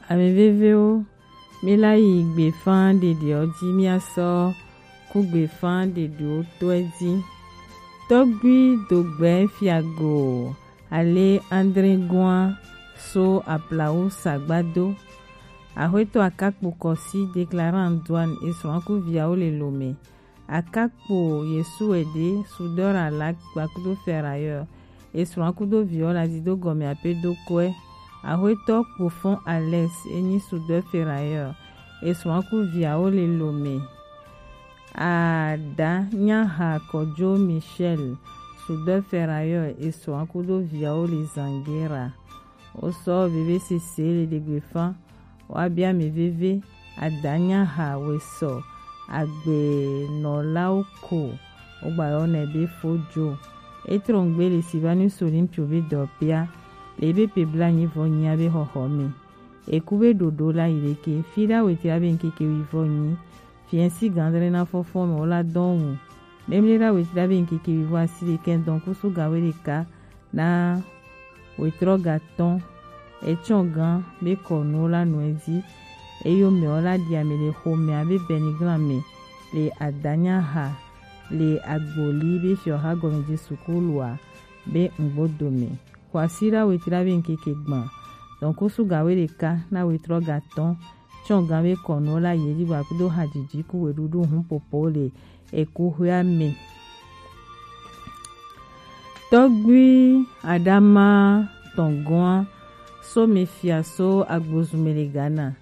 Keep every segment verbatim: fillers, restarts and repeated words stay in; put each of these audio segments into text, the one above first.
Ame vevewo, mi la yi gbefa ɖeɖeɔ ji, mia sɔ ku gbefa ɖeɖewo tɔɛ ji. Tɔgbi Dogbɛ Fiago ale André Goin so aplawu sagbado. Axwetɔ Akakpo Kɔsi, déclarant douane, esrɔ̃ ku viawo le Lomé. Akakpo Yesu Ede, soudeur à laque kpakudo ferrailleur, esrɔ̃ kudo viwo la dido gɔme ape do kɔɛ. Axwetɔ Kpofɔn Alex, enyi soudeur ferrailleur, esrɔ̃ ku viawo le Lomé. Ada Nyaha Kɔjo Michel, soudeur ferrailleur, esrɔ̃ kudo viawo le Zangera. Wosɔ veve sese le ɖegbefa. Woabia ame veve, Ada Nyaha Wesɔ Agbenɔlawo ko wogbayɔnɛ be Fojo. Etrɔngbe le Sylvanus Olympio be dɔpia le ebe pe blanyi vɔ nyia be xɔxɔ me. Eku be ɖoɖo la yi ɖeke, fi ɖa wetri abe ŋkeke wivɔ nyi. Fiɛsi gandre na fɔfɔ me wola dɔn wu. Memle ɖa wetri abe ŋkeke wivɔ asi ɖeke dɔn kusu gawe ɖeka na wetrɔ gatɔn. Etsɔ gan be kɔnuwo la nɔ edzi. Eyo mɛwo la ɖi ame le xomea be bɛniglan me le Adanyaha le Agboli be fiɔha gɔme Jesu kulua be ŋgbodo me. Kwasira wetra be ŋkeke gban. Dɔnkusu gawe ɖeka na wetrɔ gatɔn. Tsɔ gan be kɔnuwo la yeli wa kudo hajiji ku weɖuɖu hun popo le ekuxɔa me. Tɔgbui Adama tɔngɔa so me fia so agbozume le Ghana.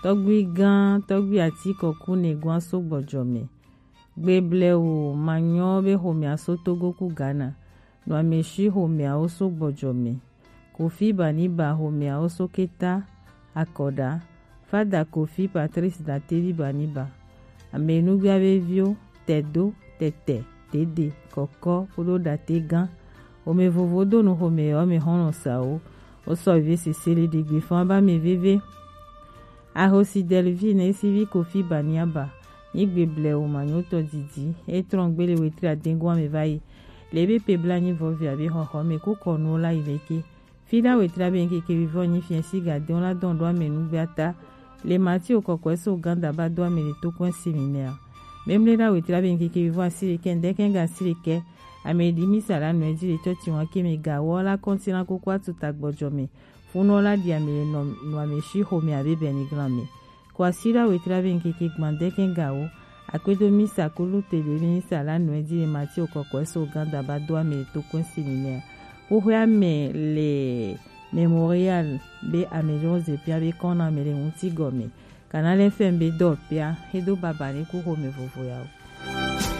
Tɔgbui gan, tɔgbui ati kɔku ne gɔa so gbɔjɔ me. Gbeble wo manyɔ be xomea so Togo ku Ghana. Nɔ ame shi xomea wo so gbɔjɔ me. Kofi Baniba xomea wo so keta akɔɖa. Fada Kofi Patrice Datevi Baniba. Ame nugbia be viwo, Tɛdo, Tɛtɛ, Dede, Kɔkɔ, kudo Date gan. Ome vovo do nu xome yɔ me xɔlɔ sawo. Wo sɔ ve sese le ɖegbe fɔn ba me veve. Ahosi Delvin esi vi Kofi Baniaba. Nyigbe ble wo manyotɔ didi. Etrɔn gbele wetri adengo ame va yi. Le be pe bla nyi vɔ via be xɔxɔ me ku kɔnuwo la yi leke. Fi ɖa wetri abe ŋkeke wivɔ nyi fiɛ si ga dɔn la dɔn ɖo ame nugbe ata. Le Matthew kɔkɔe so ganda ba do ame le to kɔn seminaire. Memle ɖa wetri abe ŋkeke wivɔ asi ɖekɛ ŋdɛkɛ ga asi ɖekɛ. Ame ɖi misa la nɔ edzi le tsɔtsi wa ke me ga wɔ la kɔnti na koko atu ta gbɔjɔ me. Funɔ la ɖi ame le nɔ nɔ ame shi xome abe bɛniglan me. Kwasira wetri abe ŋkeke gban dɛkɛ gawo. Akpedo misa kulu te ɖe misa la nɔ edzi le Matthew kɔkɔe so ganda ba do ame le to kɔn seminaire. Xoxoe ame le Mémorial be ame jɔ zepia be kɔn na ame le ŋuti gɔme. Kana le fɛn be dɔ pia, edo baba ne ku xome vovo ya o.